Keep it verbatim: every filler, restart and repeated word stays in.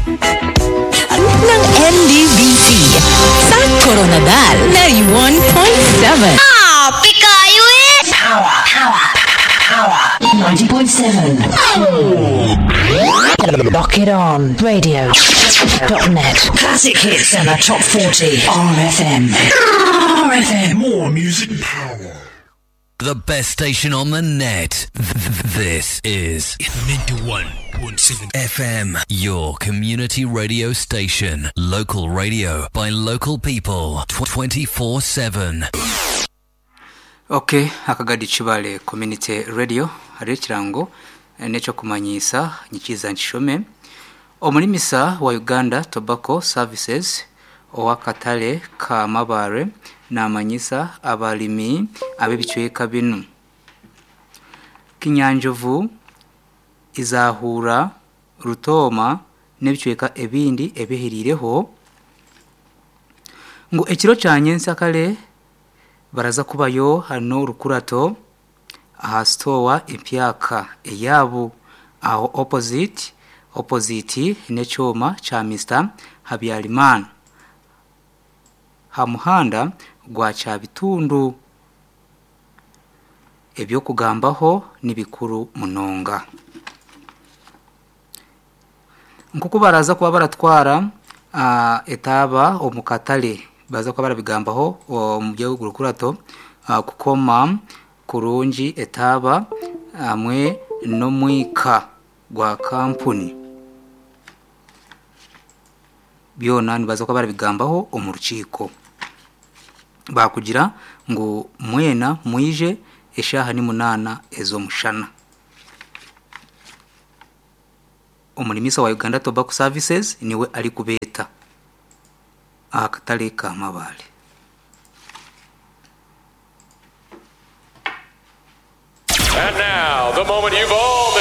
Ng N D B C sa Koronadal ninety-one point seven. Ah, pikayo eh! Power. Power. Power. ninety point seven. Lock it on. Radio. Dot net. Classic hits and the top forty. R F M. R F M. More music power. The best station on the net. This is ninety-one point seven F M, your community radio station. Local radio by local people twenty-four seven. Okay, akagadi Kibale Community Radio hariho ekirango eh, n'ekyokumanyisa nyikiza nkishome. Omulimisa wa Uganda Tobacco Services ow'akatale ka Mabare namanyisa abalimi ab'ebicweka binu: Kinyanjovu, Izahura, Rutoma n'ebicweka ebindi ebihiriireho ngu ekiro kya nyensakare baraza kubayo hano rukurato aha store empyaka eyabo aho opposite opposite n'ekyoma kya Mister Habyarimana ha muhanda gwa Kyabitundu. Ebyokugambaho ni bikuru munonga nkuko baraza kuba baratwara uh, etaba omu katale, baza kuba barabigambaho omu gihugu rukurato uh, kukoma kurungi etaba hamwe n'omwika gwa kampuni byona nibaza kuba barabigambaho omu rukiiko. Bakugira ngu mwena mwije eshaha ni munana ez'omushana. Omulimisa wa Uganda Tobacco Services niwe ari kubeeta akatale ka Mabale. And now, the moment you've all been